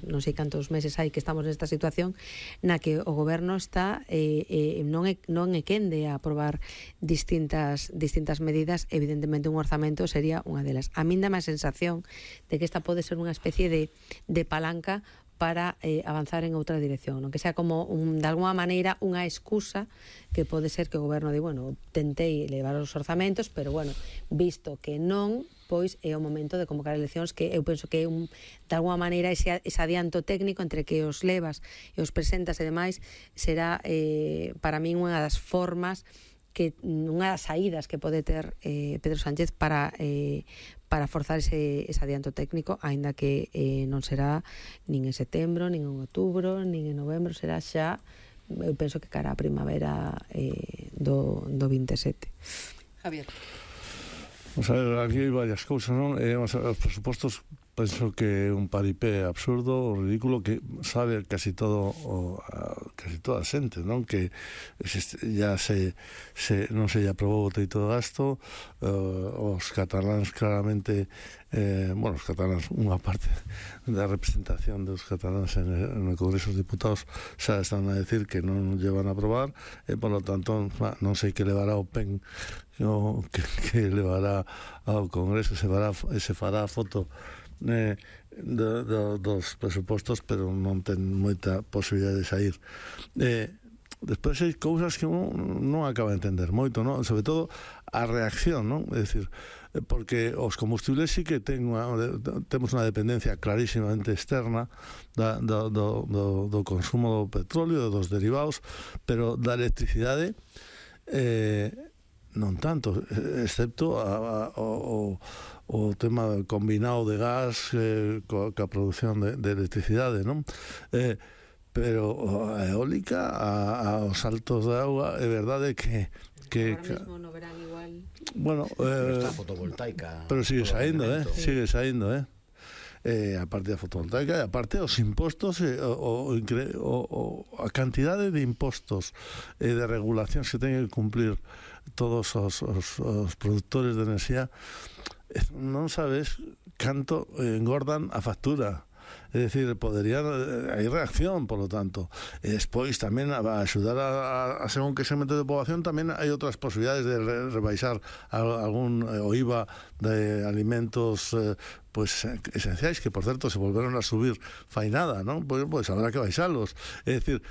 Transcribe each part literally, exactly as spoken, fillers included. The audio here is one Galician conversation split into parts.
non sei cantos meses hai que estamos nesta situación na que o goberno está eh, eh, non, é, non é quende a aprobar distintas distintas medidas. Evidentemente un orzamento sería unha delas. A min dá má sensación de que esta pode ser unha especie de, de palanca para eh, avanzar en outra dirección, non? Que sea como, un, de alguma maneira, unha excusa que pode ser que o goberno di, bueno, tentei levar os orzamentos, pero, bueno, visto que non, pois é o momento de convocar eleccións, que eu penso que é un, de alguma maneira ese, ese adianto técnico entre que os levas e os presentas e demais será eh, para min unha das formas que unha das saídas que pode ter eh, Pedro Sánchez para eh, para forzar ese, ese adianto técnico, aínda que eh, non será nin en setembro, nin en outubro, nin en novembro, será xa, eu penso que cara a primavera eh, do, do veintisiete. Javier. Vamos a ver, aquí hai varias cousas, non? Eh, vamos a ver, os presupostos penso que é un paripé absurdo, ridículo, que sabe casi todo o, a, casi toda a xente, non? Que ya se, se non se aprobou o teito de gasto, uh, os cataláns claramente eh, bueno, os cataláns, unha parte da representación dos cataláns en, en o Congreso dos Diputados xa están a decir que non llevan a aprobar, e por lo tanto non sei que levará o P E N, no, que, que levará ao Congreso, se fará, se fará a foto Eh, do, do, dos presupostos, pero non ten moita posibilidade de sair. Eh, despois hai cousas que non, non acaba de entender moito, non? Sobre todo a reacción, non? É dicir, porque os combustibles sí que ten unha, temos unha dependencia clarísimamente externa da, do, do, do, do consumo do petróleo, dos derivados, pero da electricidade eh, non tanto, excepto a, a, o, o tema combinado de gas eh, coa, coa produción de, de electricidade, non? Eh, pero a eólica, a, aos saltos de agua, é verdade que que agora mesmo no verán igual. Bueno, eh, está fotovoltaica. Pero sigue saindo, eh, sigue saindo, eh. Eh, a parte da fotovoltaica, e a parte os impostos, eh, o, o, o, a cantidade de impostos e eh, de regulacións que teñen que cumplir todos os, os, os produtores de enerxía, non sabes canto engordan a factura. É dicir, podería, hai reacción, por lo tanto, e despois tamén a axudar a, a, a según que segmento de poboación, tamén hai outras posibilidades de re, rebaixar algún eh, o I V A de alimentos eh, pues esenciais, que por certo se volveron a subir fai nada, non? Pois, pois habrá que baixalos. É dicir,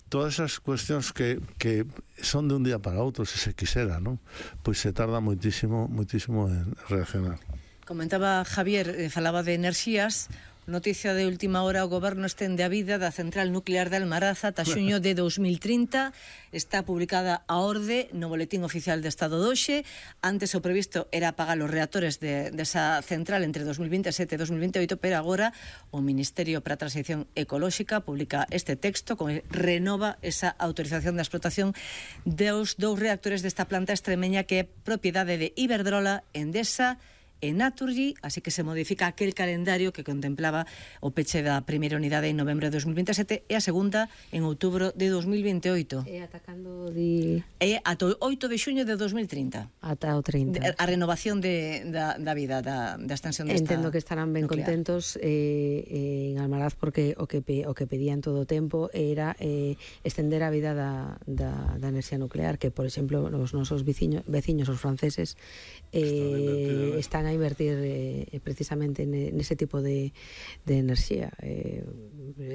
todas esas cuestións que, que son de un día para outro, se se quisera, non? Pois se tarda moitísimo, moitísimo en reaccionar. Comentaba Javier, eh, falaba de enerxías. Noticia de última hora, o goberno estende a vida da central nuclear de Almaraza ata xuño de dos mil trinta. Está publicada a orde no Boletín Oficial de Estado de hoxe. Antes o previsto era apagar os reactores de, desa central entre dos mil veintisiete e dos mil veintioito, pero agora o Ministerio para a Transición Ecolóxica publica este texto con renova esa autorización da explotación dos dous reactores desta planta extremeña que é propiedade de Iberdrola, Endesa e Naturgy, así que se modifica aquel calendario que contemplaba o peche da primeira unidade en novembro de dos mil veintisiete e a segunda en outubro de dos mil veintioito. E atacando de... E ata o oito de xuño de dos mil trinta. Ata o trinta. A renovación de, da, da vida, da, da extensión desta Entendo que estarán ben nuclear. Contentos eh, en Almaraz, porque o que, o que pedían todo o tempo era eh, extender a vida da, da, da enerxía nuclear, que, por exemplo, os nosos veciños, veciños os franceses, eh, están a invertir eh, precisamente nese tipo de, de enerxía. Eh,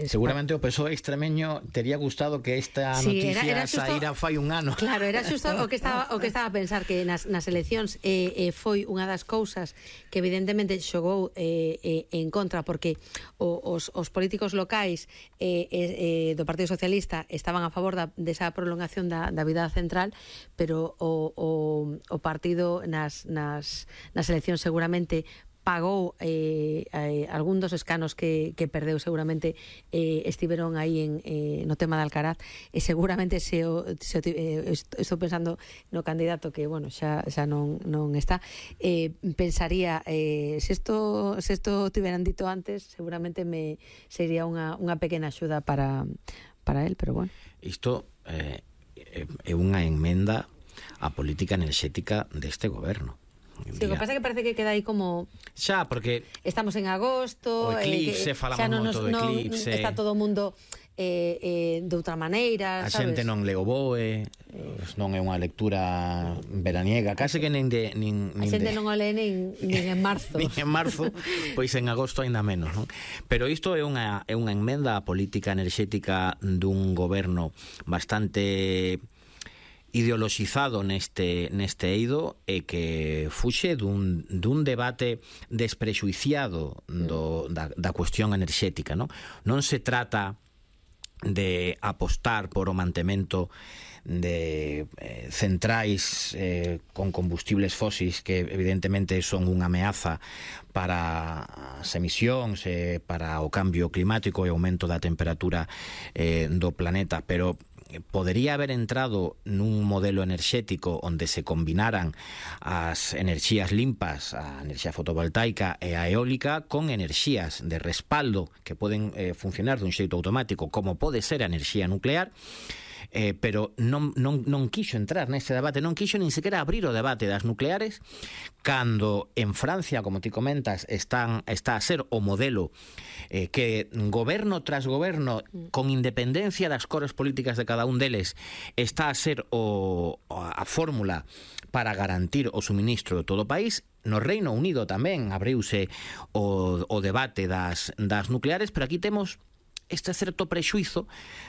Seguramente o P S O E extremeño tería gustado que esta sí, noticia era, era xusto, saíra fai un ano. Claro, era xusto o que estaba o que estaba a pensar, que nas, nas eleccións eh, eh, foi unha das cousas que evidentemente xogou eh, eh, en contra, porque o, os, os políticos locais eh, eh, do Partido Socialista estaban a favor da, desa prolongación da, da vida central, pero o, o, o partido nas, nas, nas eleccións seguramente pagou eh, eh, algún dos escanos que, que perdeu, seguramente eh, estiveron aí en, eh, no tema de Alcaraz, e seguramente se o, se o, eh, estou pensando no candidato que, bueno, xa, xa non, non está, eh, pensaría eh, se isto se isto tiveran dito antes, seguramente me sería unha, unha pequena axuda para, para él, pero bueno. Isto eh, é unha enmenda á política enerxética deste goberno. Sí, o que pasa é que parece que queda aí como... Xa, porque... Estamos en agosto... O eclipse, eh, que, falamos non moito do eclipse. Non está todo o mundo eh, eh, de outra maneira, a sabes? xente non le o boe, non é unha lectura veraniega, case que nin de... Nin, a nin xente de... non o lee nin, nin en marzo. nin en marzo, pois en agosto aínda menos, non? Pero isto é unha, é unha enmenda á política enerxética dun goberno bastante ideoloxizado neste neste eido e que fuxe dun, dun debate desprexuiciado do, da, da cuestión enerxética, non? Non se trata de apostar por o mantemento de eh, centrais eh, con combustibles fósiles que evidentemente son unha ameaza para as emisións, eh, para o cambio climático e o aumento da temperatura eh, do planeta, pero podería haber entrado nun modelo enerxético onde se combinaran as enerxías limpas, a enerxía fotovoltaica e a eólica, con enerxías de respaldo que poden eh, funcionar dun xeito automático, como pode ser a enerxía nuclear. Eh, pero non, non, non quixo entrar neste debate, non quixo nin sequera abrir o debate das nucleares, cando en Francia, como ti comentas, están, está a ser o modelo eh, que goberno tras goberno, con independencia das cores políticas de cada un deles, está a ser o, a fórmula para garantir o suministro de todo o país. No Reino Unido tamén abriuse o, o debate das, das nucleares, pero aquí temos este certo prexuizo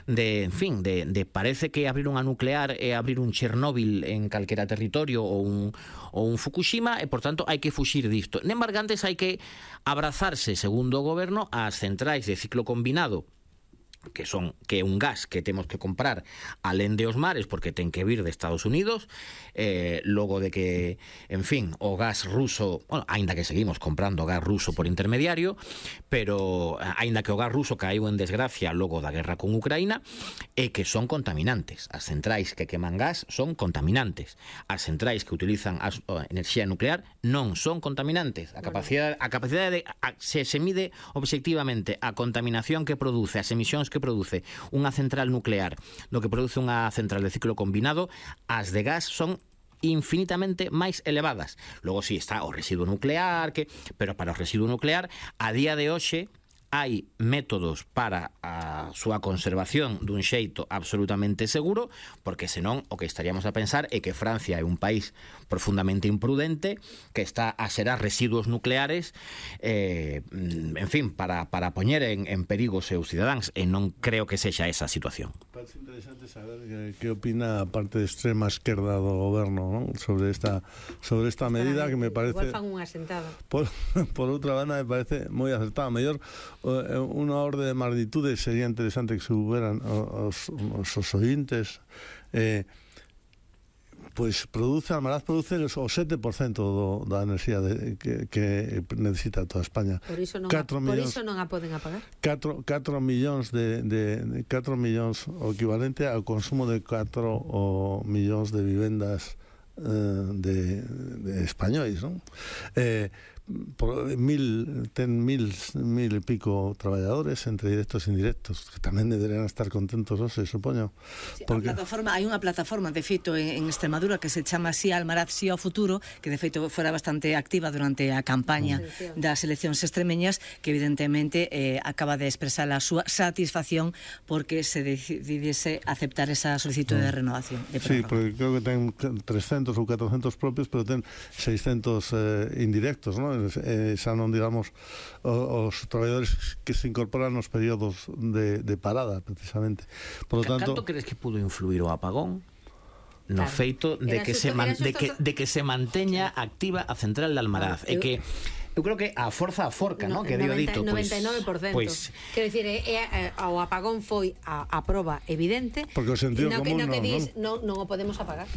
de, en fin, de, de parece que abrir unha nuclear é abrir un Chernóbil en calquera territorio ou un, ou un Fukushima e, por tanto, hai que fuxir disto. Nem bargantes hai que abrazarse, segundo o goberno, ás centrais de ciclo combinado, que son que é un gas que temos que comprar alén de os mares porque ten que vir de Estados Unidos, eh, logo de que, en fin, o gas ruso, bueno, aínda que seguimos comprando gas ruso por intermediario, pero aínda que o gas ruso caíu en desgracia logo da guerra con Ucraína, é que son contaminantes. As centrais que queman gas son contaminantes. As centrais que utilizan a enerxía nuclear non son contaminantes. A capacidade, a capacidade de, a, se se mide obxectivamente a contaminación que produce, as emisións que produce unha central nuclear do que produce unha central de ciclo combinado, as de gas son infinitamente máis elevadas. Logo si sí, está o residuo nuclear, que pero para o residuo nuclear a día de hoxe hai métodos para a súa conservación dun xeito absolutamente seguro, porque senón o que estaríamos a pensar é que Francia é un país profundamente imprudente que está a xerar residuos nucleares eh, en fin, para, para poñer en, en perigo os seus cidadáns, e non creo que sexa esa situación. Parece interesante saber que, que opina a parte de extrema esquerda do goberno, ¿no? sobre esta sobre esta medida que me parece... Igual fan unha sentada. Por, por outra banda me parece moi acertada. Mellor unha orde de magnitude sería interesante que se huberan os, os, os ointes eh, pois produce, Almaraz produce o sete por cento do, da enerxía de, que, que necesita toda España. Por iso non, a, por iso non a poden apagar. catro millóns de, de, de catro millóns o equivalente ao consumo de catro o millóns de vivendas eh, de, de españois, non? Eh, por mil ten mil mil e pico traballadores entre directos e indirectos que tamén deberían estar contentos, non se supoño. Sí, porque... a plataforma, hai unha plataforma de feito en, en Extremadura que se chama así Almaraz Sí ao Futuro, que de feito fora bastante activa durante a campaña mm. das eleccións extremeñas, que evidentemente eh, acaba de expresar a súa satisfacción porque se decidiese aceptar esa solicitude mm. de renovación de sí, porque creo que ten trescentos ou catrocentos propios, pero ten seiscentos eh, indirectos, non? Eh, xa non digamos os, os traballadores que se incorporan nos períodos de, de parada precisamente. Por lo tanto, canto crees que pudo influir o apagón no claro. feito de que, xusto, se man, xusto, de, que, de que se manteña activa a central de Almaraz? É que eu creo que a forza a forca, no, ¿no? que dio dito, noventa e nove por ciento. Pois, quero dicir, é, é, o apagón foi a, a proba evidente. Porque o sentido no, común no, que non, dis, non, non o podemos apagar.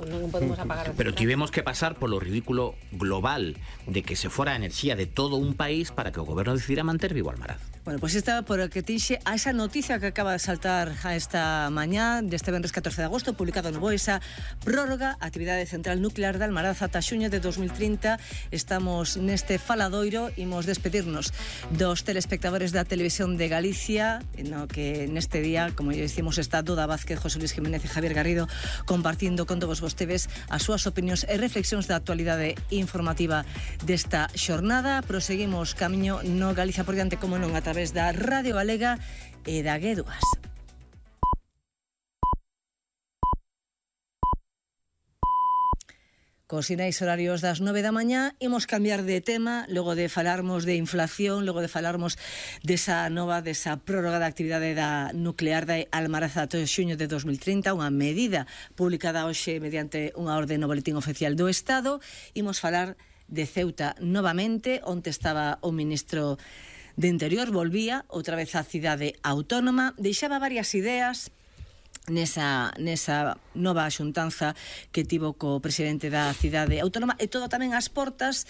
non o podemos apagar. Pero tivemos que pasar polo ridículo global de que se fora a enerxía de todo un país para que o goberno decidira manter vivo Almaraz. Bueno, pois pues esta por que tixe a esa noticia que acaba de saltar a esta mañá deste venres catorce de agosto, publicado no B O E, esa prórroga a actividade central nuclear de Almaraza ata xuño de dos mil trinta. Estamos neste faladoiro, imos despedirnos dos telespectadores da Televisión de Galicia, no que neste día, como ya decimos, está Doda Vázquez, José Luis Jiménez e Javier Garrido compartindo con todos vostedes as súas opinións e reflexións da actualidade informativa desta xornada. Proseguimos camiño no Galicia por diante, como non, a través da Radio Galega e da G dúas. Cos sinais horarios das nove da mañá, imos cambiar de tema, logo de falarmos de inflación, logo de falarmos desa nova, desa prórroga da actividade da nuclear da Almaraza ata xuño de dos mil trinta, unha medida publicada hoxe mediante unha orde no Boletín Oficial do Estado. Imos falar de Ceuta novamente, onde estaba o ministro de Interior, volvía outra vez á cidade autónoma, deixaba varias ideas nesa, nesa nova xuntanza que tivo co presidente da cidade autónoma, e todo tamén ás portas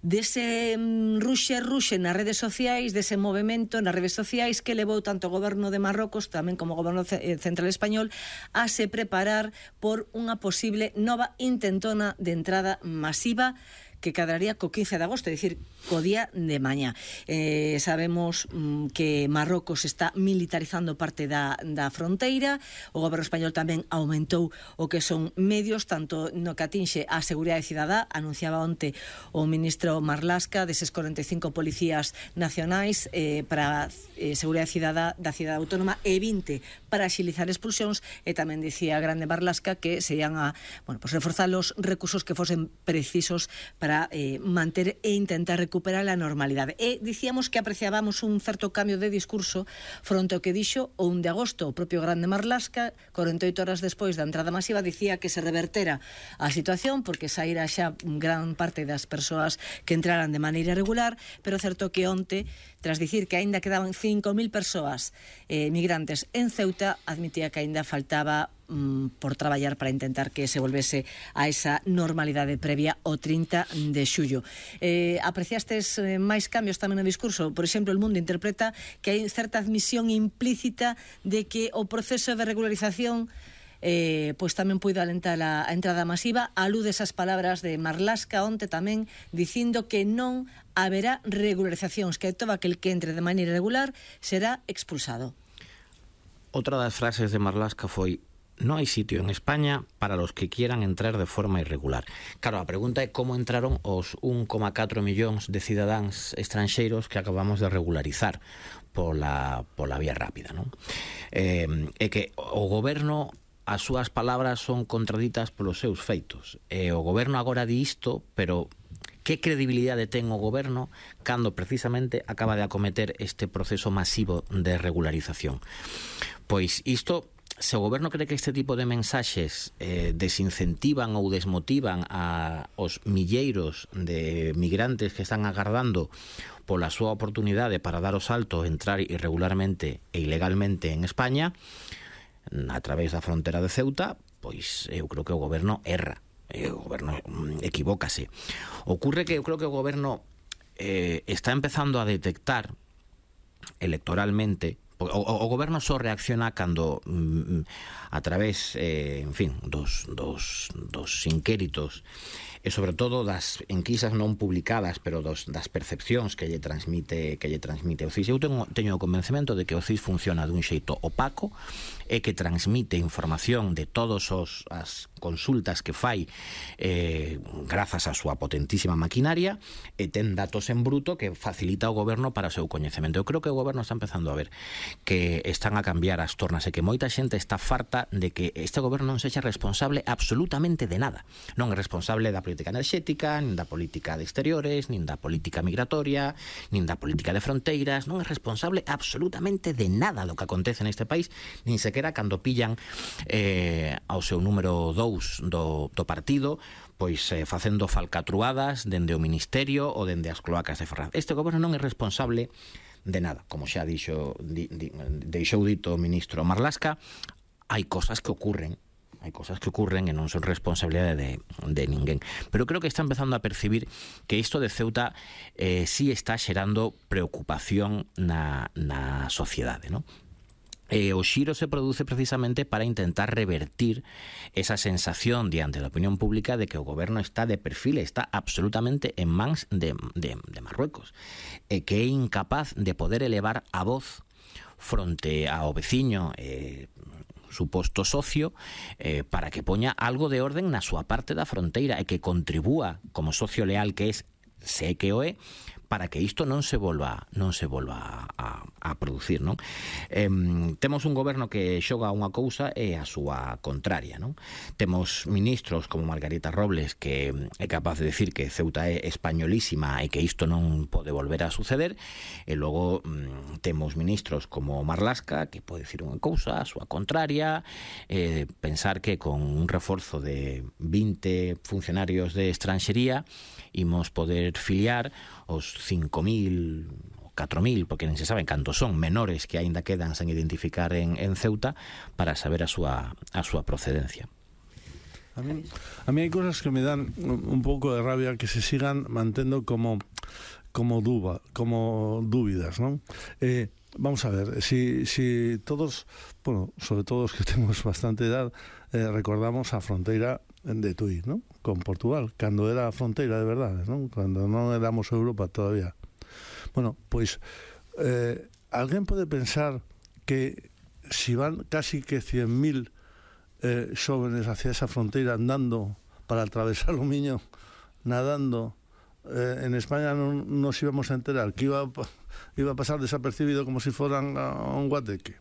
dese ruxe ruxe nas redes sociais, dese movimento nas redes sociais que levou tanto o goberno de Marrocos tamén como o goberno central español a se preparar por unha posible nova intentona de entrada masiva que cadraría co quince de agosto, é dicir, co día de mañá. Eh, sabemos mm, que Marrocos está militarizando parte da, da fronteira, o goberno español tamén aumentou o que son medios, tanto no que atinxe a seguridade cidadá, anunciaba onte o ministro Marlaska deses corenta e cinco policías nacionais eh, para eh, seguridade cidadá da cidade autónoma e vinte para axilizar expulsións, e tamén dicía grande Marlaska que se ian a, bueno, pues reforzar os recursos que fosen precisos para para eh, manter e intentar recuperar a normalidade. E dicíamos que apreciábamos un certo cambio de discurso fronte ao que dixo o un de agosto o propio grande Marlaska, corenta e oito horas despois da entrada masiva, dicía que se revertera a situación porque saíra xa gran parte das persoas que entraran de maneira regular, pero certo que onte, tras dicir que aínda quedaban cinco mil persoas eh, migrantes en Ceuta, admitía que aínda faltaba por traballar para intentar que se volvese a esa normalidade previa o trinta de xullo. Eh, apreciastes eh, máis cambios tamén no discurso? Por exemplo, El Mundo interpreta que hai certa admisión implícita de que o proceso de regularización eh, pois tamén puido alentar a, a entrada masiva. Alude esas palabras de Marlaska onte tamén dicindo que non haberá regularizacións, que todo aquel que entre de maneira irregular será expulsado. Outra das frases de Marlaska foi: no hay sitio en España para los que quieran entrar de forma irregular. Claro, a pregunta é como entraron os un coma catro millóns de cidadáns estranxeiros que acabamos de regularizar pola, pola vía rápida, non? Eh, é que o goberno, as súas palabras son contraditas polos seus feitos. E o goberno agora di isto, pero que credibilidade ten o goberno cando precisamente acaba de acometer este proceso masivo de regularización? Pois isto, se o goberno cree que este tipo de mensaxes eh, desincentivan ou desmotivan a os milleiros de migrantes que están agardando pola súa oportunidade para dar o salto, entrar irregularmente e ilegalmente en España a través da frontera de Ceuta, pois eu creo que o goberno erra, o goberno equivócase. Ocurre que eu creo que o goberno eh, está empezando a detectar electoralmente. O, o, o goberno só reacciona cando mm, a través, eh, en fin, dos, dos, dos inquéritos e sobre todo das enquisas non publicadas, pero dos, das percepcións que lle transmite que lle transmite o C I S. Eu teño, teño o convencemento de que o C I S funciona dun xeito opaco e que transmite información de todos os as consultas que fai eh, grazas á súa potentísima maquinaria, e ten datos en bruto que facilita o goberno para o seu coñecemento. Eu creo que o goberno está empezando a ver que están a cambiar as tornas e que moita xente está farta de que este goberno non sexa responsable absolutamente de nada. Non é responsable da política enerxética, nin da política de exteriores, nin da política migratoria, nin da política de fronteiras. Non é responsable absolutamente de nada do que acontece neste país, nin sequera cando pillan eh, ao seu número dous do, do partido, pois eh, facendo falcatruadas dende o Ministerio ou dende as cloacas de Ferraz. Este goberno non é responsable de nada, como xa dixo, di, di, deixou dito o ministro Marlaska. Hai cosas que ocurren hai cosas que ocurren e non son responsabilidade de, de ninguén. Pero creo que está empezando a percibir que isto de Ceuta eh, sí está xerando preocupación na, na sociedade, non? Eh, o xiro se produce precisamente para intentar revertir esa sensación diante da opinión pública de que o goberno está de perfil, está absolutamente en mans de, de, de Marruecos, e que é incapaz de poder elevar a voz fronte ao veciño eh, suposto socio eh, para que poña algo de orden na súa parte da fronteira e que contribúa como socio leal que es, sé que o é, para que isto non se volva non se volva a, a producir, non? Eh, temos un goberno que xoga unha cousa e a súa contraria, non? Temos ministros como Margarita Robles que é capaz de decir que Ceuta é españolísima e que isto non pode volver a suceder, e logo mm, temos ministros como Marlaska que pode decir unha cousa a súa contraria, eh, pensar que con un reforzo de vinte funcionarios de estranxería imos poder filiar os cinco mil, catro mil, porque non se saben cantos son, menores que aínda quedan sen identificar en, en Ceuta, para saber a súa, a súa procedencia. A mí, a mí hai cosas que me dan un pouco de rabia que se sigan mantendo como como duda, como dúbidas, non? Eh, vamos a ver, si, si todos, bueno, sobre todo os que temos bastante edad, eh, recordamos a fronteira de Tui, ¿no? Con Portugal, cando era a fronteira de verdade, ¿no? Cando non éramos Europa todavía. Bueno, pois eh, alguén pode pensar que si van casi que cien mil eh, xóvenes hacia esa fronteira andando para atravesar o Miño, nadando, eh, en España non nos íbamos a enterar, que iba, iba a pasar desapercibido como si foran a un guateque.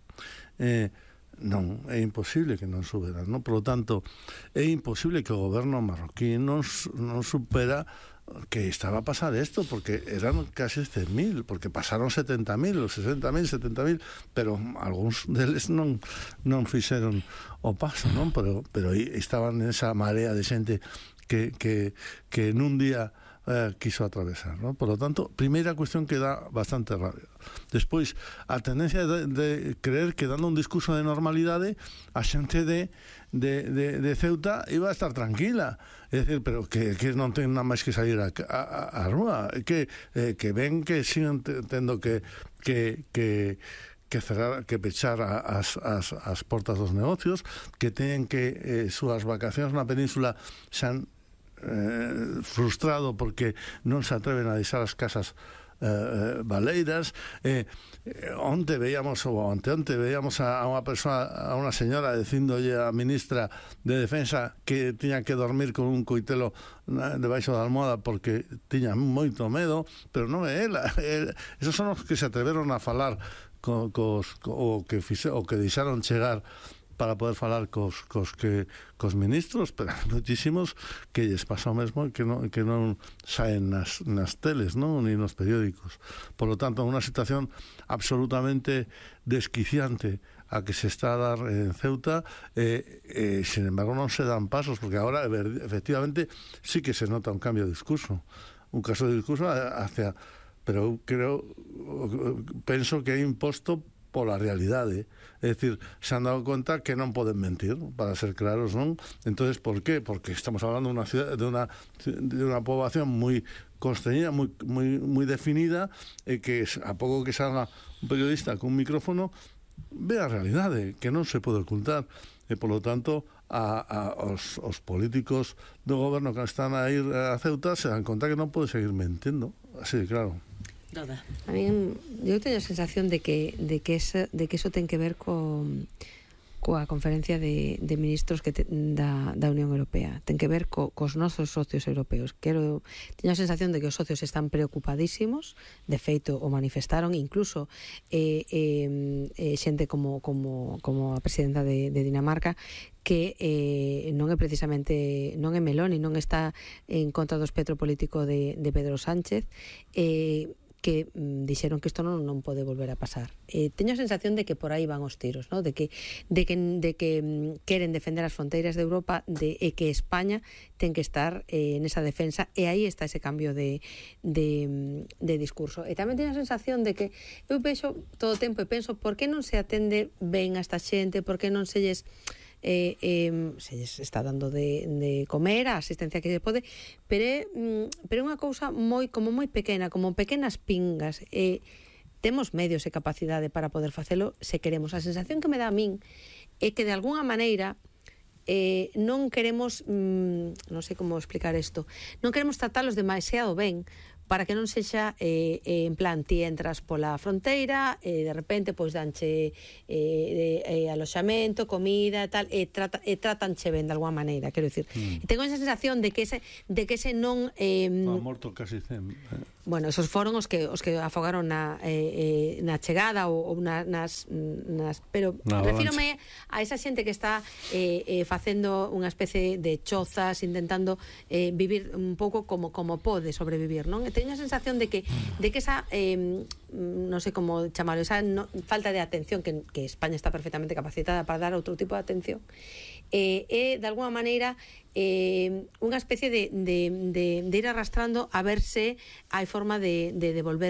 Eh, non, é imposible que non suberan, non? Por lo tanto, é imposible que o goberno marroquí non, non supera que estaba a pasar isto, porque eran casi cen mil, porque pasaron setenta mil, sesenta mil, setenta mil, pero algúns deles non non fixeron o paso, non? Pero, pero estaban nesa marea de xente que, que, que nun día Eh, quiso atravesar, ¿no? Por lo tanto, primeira cuestión que dá bastante rabia. Despois, a tendencia de, de creer que dando un discurso de normalidade a xente de, de, de, de Ceuta iba a estar tranquila, é dicir, pero que, que non ten nada máis que salir a, a, a rúa, que, eh, que ven que siguen tendo que que, que que cerrar, que pechar as, as, as portas dos negocios, que teñen que eh, súas vacacións na península xan Eh, frustrado porque non se atreven a deixar as casas eh, baleiras. eh, eh, onte veíamos ou anteonte veíamos a, a unha persoa, a unha señora dicindolle a ministra de Defensa que tiña que dormir con un coitelo debaixo da almohada porque tiña moito medo, pero non é ela, é, esos son os que se atreveron a falar co, cos, co, o que fixe, o que deixaron chegar para poder falar cos, cos, que, cos ministros, pero hai moitísimos que lles pasa o mesmo que non, que non saen nas, nas teles, non? Ni nos periódicos. Por lo tanto, unha situación absolutamente desquiciante a que se está a dar en Ceuta, eh, eh, sin embargo non se dan pasos, porque agora efectivamente sí que se nota un cambio de discurso, un caso de discurso hacia, pero eu creo, penso que é imposto pola realidade, é dicir, se han dado conta que non poden mentir, para ser claros, non? Entonces, por qué? Porque estamos hablando de unha ciudad, de unha de unha poboación moi constreñida, moi moi moi definida, e que a pouco que salga un periodista con un micrófono ve a realidade, que non se pode ocultar, e por lo tanto a, a os, os políticos do goberno que están a ir a Ceuta se dan conta que non pode seguir mentindo, así de claro. Nada. A mí, eu teño a sensación de que de que ese, de que eso ten que ver co coa conferencia de, de ministros que te, da, da Unión Europea. Ten que ver co, cos nosos socios europeos. Quero, teño a sensación de que os socios están preocupadísimos, de feito o manifestaron, incluso eh, eh, eh, xente como, como, como a presidenta de, de Dinamarca, que eh, non é precisamente, non é Meloni, non está en contra do espectro político de, de Pedro Sánchez, eh, que mm, dixeron que isto non, non pode volver a pasar. Eh, teño a sensación de que por aí van os tiros, ¿no? de que de que de que mm, queren defender as fronteiras de Europa, de e que España ten que estar eh, nesa defensa, e aí está ese cambio de de, de discurso. E tamén teño a sensación de que eu vexo todo o tempo e penso, por que non se atende ben a esta xente, por que non se lles eh, eh, se lles está dando de, de comer, a asistencia que se pode, pero é, mm, pero é unha cousa moi, como moi pequena, como pequenas pingas, e eh, temos medios e capacidade para poder facelo se queremos. A sensación que me dá a min é que de alguna maneira eh, non queremos, mm, non sei como explicar isto, non queremos tratalos demasiado ben, para que non sexa eh, eh, en plan ti entras pola fronteira e eh, de repente pois danche eh, eh, aloxamento, comida e tal, e, trata, e tratanche ben de alguma maneira, quero dicir. Mm. E tengo esa sensación de que ese, de que ese non... Eh, ha morto casi cen. Eh. Bueno, esos foron os que os que afogaron na, eh, eh, na chegada ou, ou na, nas, nas... Pero na refírome a esa xente que está eh, eh, facendo unha especie de chozas, intentando eh, vivir un pouco como, como pode sobrevivir, non? Teño a sensación de que de que esa eh, non sei como chamarlo, esa no, falta de atención que, que España está perfectamente capacitada para dar outro tipo de atención é eh, eh, de alguna maneira eh, unha especie de, de, de, de ir arrastrando a ver se hai forma de, de devolver